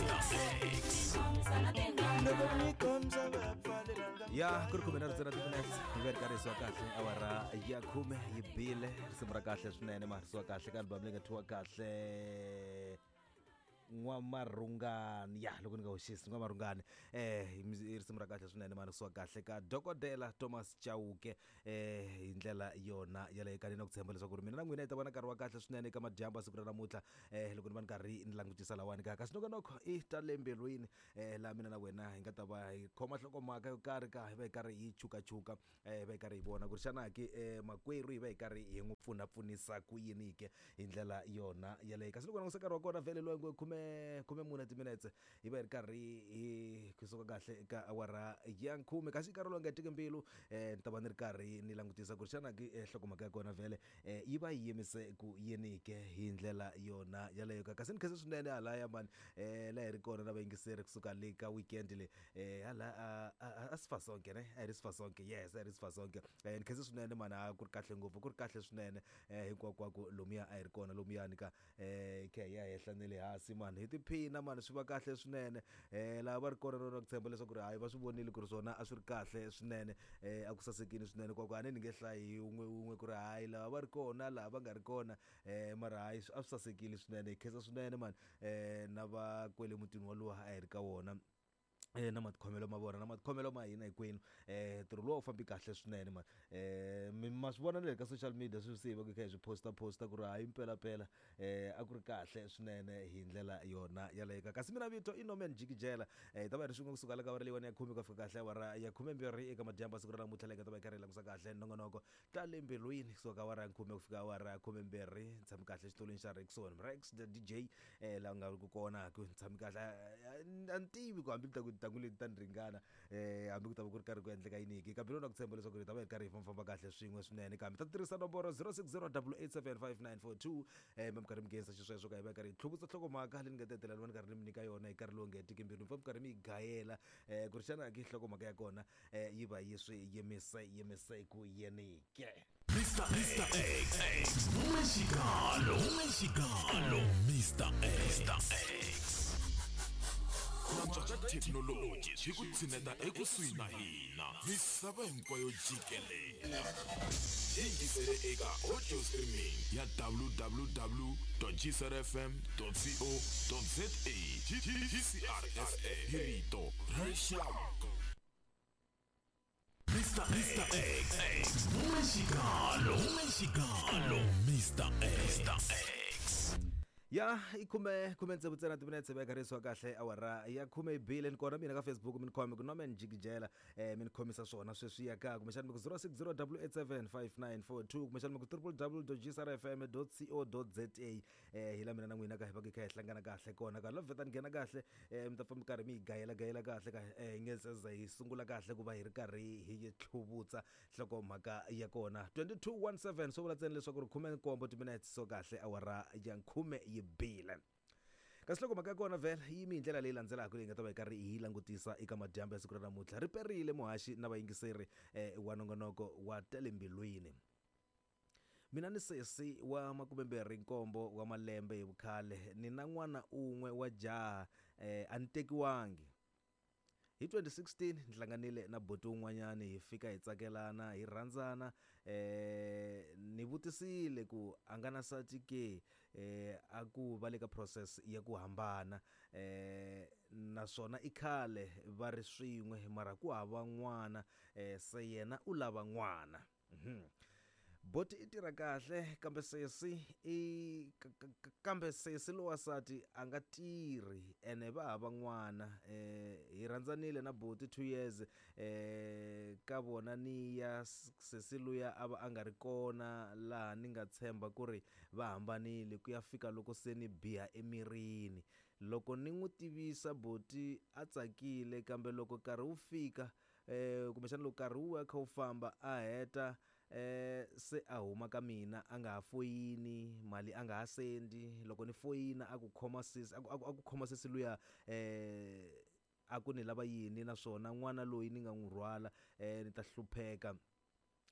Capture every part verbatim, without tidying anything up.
X. Ya ku ri khume na ritsena timinetse hi va ri karhi hi kahle awara ya khume yi bile risimu ra kahle swinene ma risiwa kahle ka album leyi nga thyiwa kahle N'wamarhungani. Ya loko ni nga hoxisi N'wamarhungani eh i risimu ra kahle swinene ma risiwa kahle ka Dokodela Thomas Chauke eh hi ndlela yona yaleyo. Ka ni na ku tshemba leswaku ri mina na n'wina hi ta va na nkarhi wa kahle swinene eka madyambu ya siku ra namuntlha eh loko ni va ni karhi ni langutisa lawani ka kasi nongonoko i ta le mbilwini eh laha mina na wena hi nga ta va hi khoma nhlokomhaka yo karhi ka hi va hi karhi hi chukachuka eh hi va hi karhi hi vona ku ri xana ke eh makwerhu hi va hi karhi hi n'wi pfunapfunisa ku yini ke hi ndlela yona yaleyo. Kasi loko langutisa nkarhi wa kona vhele loyi ngo khume khume mune timinetse hi va hi ri karhi hi kusuka kahle eka awara ya khume. Kasi nkarhi lowu nga hetiki mbilu eh ni ta va ni ri karhi ni langutisa ku ri xana ke nhlokomhaka ya kona vhele eh yi va yi yimise ku yini ke hi ndlela yona yaleyo. Kasi ni khensa swinene halaya mani eh laha hi ri kona na vayingiseri kusuka le ka weekend le eh hala a a Sifasonke ne a hi ri Sifasonke, yes a hi ri Sifasonke. Eh ni khensa swinene mani, a ku ri kahle ngopfu, ku ri kahle swinene eh hinkwakwako lomuya a hi ri kona lomuyani ka eh khe hi ya henhla ne le hansi mani hi tiphina mani swi va kahle swinene eh laha va ri kona rona ku tshemba leswaku ri hayi va swi vonile ku ri swona a swi ri kahle swinene eh a ku sasekile swinene kwa ku a ni ni nge hlayi hi wun'we wun'we ku ri hayi lava va ri kona laha va nga ri kona eh mara hayi a swi sasekile swinene. Hi khensa swinene mani eh na va kwele mutini walowa a hi ri ka wona eh na matikhomelo ma vona na matikhomelo ma hina hinkwenu eh ntirho lowu a wu fambi kahle swinene mani eh mi ma swi vona na le ka social media sweswi se hi va hi kha hi swi posta posta ku ri hayi mpelampela eh a ku ri kahle swinene hi ndlela yona yaleyo. Kasi mina vito i Norman Jikijela eh hi ta va hi ri swin'we kusuka le ka awara leyiwani ya khume ku ya fika kahle awara ya khumembirhi eka madyambu ya siku ra namuntlha leyi nga ta va hi karhi hi langusa kahle nongonoko ta le mbilwini kusuka ka awara ya khume ku fika awara ya khumembirhi. Ni tshami kahle xitulwini xa Rexon Rex the D J eh laha nga ri ku kona ku ni tshami kahle a ni tivi ku hambi ni ta ku tintangu leti ta ni ringana eh hambi ku ta va ku ri karhi ku endleka yini ke kambe loko na ku tshemba leswaku hi ta va hi karhi hi fambafamba kahle swin'we swinene. Kambe ta tirhisa nomboro zero six zero double eight seven five nine four two eh mi karhi mi nghenisa xisweswo ka hi va hi karhi hi tlhuvutsa nhlokomhaka leyi ni nga ta hetelela ni va ni karhi ni mi nyika yona hi nkarhi lowu nga hetiki mbilu mi famba mi karhi mi yi gayela eh ku ri xana ke nhlokomhaka ya kona eh yi va yi swi yimise yimise ku yini ke. Mister Mister X, Mexicano, Mexicano, Mister X. Thekinoloji hi ku tshineta ekusuhi na hina misava hinkwayo jikelela. Yingisele eka audio streaming ya w w w dot g c r f m dot co dot z a. G C R F M hi rito ra rixaka. Mister Mister X, Mexicano, Mexicano, Mister X. Ya i khume khume tsevu ntsena timinetse va karhi kahle awara ya khume bile ni kona mina ka Facebook mi ni khome ku Norman Jikijela eh mi ni khomisa swona sweswi ya ka kumbexana mi ku zero six zero double eight seven five nine four two kumbexana mi ku triple w dot g c r f m dot co dot z a eh hi la mina na n'wina ka hi va hi kha hi hlangana kahle kona ka loko vheta ni nghena kahle eh mi ta pfa mi karhi mi yi gayela gayela kahle ka eh nge se za hi sungula kahle ku va hi ri karhi hi yi tlhuvutsa nhlokomhaka ya kona twenty two one seven swo vula ntsena leswaku ri khume nkombo timinetse so kahle awara ya khume yi bile. Kasi loko mhaka ya kona vhele yi yimi hi ndlela leyi landzelaka leyi nga ta va hi karhi hi langutisa eka madyambu ya siku ra namuntlha. Ri perile muhaxi na vayingiseri eh, wa nongonoko wa ta le mbilwini. Mina ni sesi wa makumembirhi nkombo wa malembe hi vukhale ni na n'wana un'we wa jaha eh, a ni tekiwangi. Hi twenty sixteen ni hlanganile na buti un'wanyani hi fika hi tsakelana hi rhandzana eh ni vutisile ku a nga na nsati ke eh a ku va le ka process ya ku hambana eh naswona i khale va ri swin'we mara ku hava n'wana eh se yena u lava n'wana. Mhm. Boti i tirha kahle kambe sesi i kambe sesi lowa nsati a nga tirhi ene va hava n'wana eh hi rhandzanile na boti two years eh ka vona ni ya sesi luya a va a nga ri kona laha ni nga tshemba ku ri va hambanile ku ya fika loko se ni biha emirini. Loko ni n'wi tivisa boti a tsakile kambe loko nkarhi wu fika eh kumbexana loko nkarhi wu ya kha wu famba a heta eh se a huma ka mina a nga ha foyini mali a nga ha sendi loko ni foyina a ku khoma sesi a ku a ku khoma sesi luya eh a ku ni lava yini naswona n'wana loyi ni nga n'wi rhwala eh ni ta hlupheka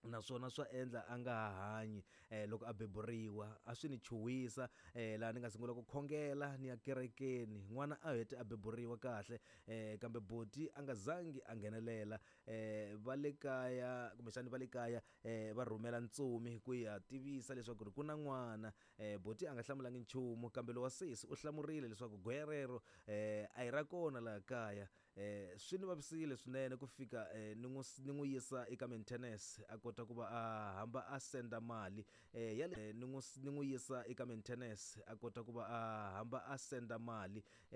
Naswona swa endla a nga ha hanyi um loko a beburiwa. A swi ni chuhisa um laha ni nga sungula ku khongela ni ya kerekeni. N'wana a hete a beburiwa kahle um kambe boti a nga zangi a nghenelela. um Va le kaya kumbexani va le kaya um va rhumela ntsumi ku ya tivisa leswaku ri ku na n'wana. um Boti a nga hlamulangi nchumu, kambe lowa sesi u hlamurile leswaku goya rero um a hi ra kona laha kaya. um Swi ni vavisile swinene ku fika um ni n'wi ni n'wi yisa eka maintenance a kota ku va a hamba a senda mali um ya ni n'wi ni n'wi yisa eka maintenance a kota ku va a hamba a senda mali.